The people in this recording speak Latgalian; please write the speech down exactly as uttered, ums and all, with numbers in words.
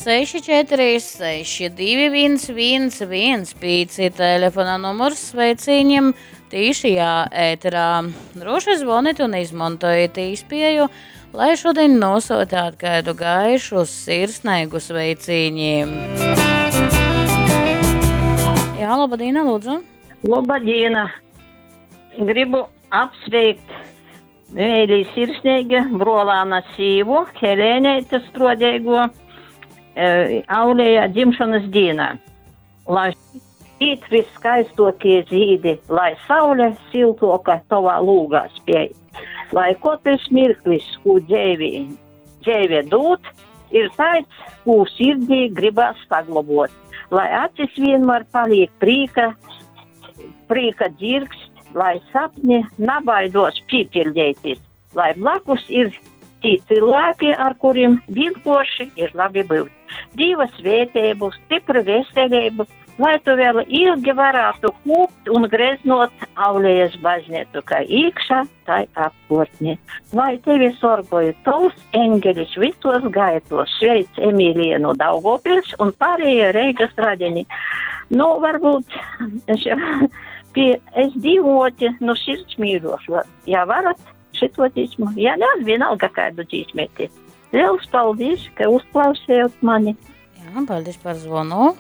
seši četri seši divi viens viens viens pieci telefona numurs sveicīņiem tīšajā ēterā. Droši zvonit un izmantojiet īspēju, lai šodien nosūtāt kādu gaišu sirsnīgu sveicīņi. Jā, laba diena, lūdzu. Laba diena. Gribu apsveikt mīļi sirsnīgi brolāna sīvu, Helēnēte Strodēgo, e, Aulējā dzimšanas dienā. Lai īt viskaistokie zīdi, lai saule siltoka tavā lūgā spēj. Lai katrs mirklis, ko dzēvi, dzēve dūt, ir tāds, ko sirdī gribās saglabot. Lai acis vienmēr paliek prīka, prīka dzirkst, lai sapņi nabaidos pīpildēties, lai blakus ir tī cilvēki, ar kuriem vienkārši ir labi būt. Dieva svētību, stipru veselību, lai tu vēl ilgi varētu kūpt un greznot Aulējas baznīcu, kā iekšā, tai apkārtnē. Lai tevi sorgoja tavs eņģelis visos gaitos, sveic Emīlija no Daugavpils un pārējie Reigas radini. Nu, varbūt es, pie, es dzīvoti, nu, sirds mīļošu. Ja varat šito dzīsmu, ja ne, vienalga kādu dzīsmēti. Liels paldies, ka uzklausījāt mani. Jā, paldies par zvanu.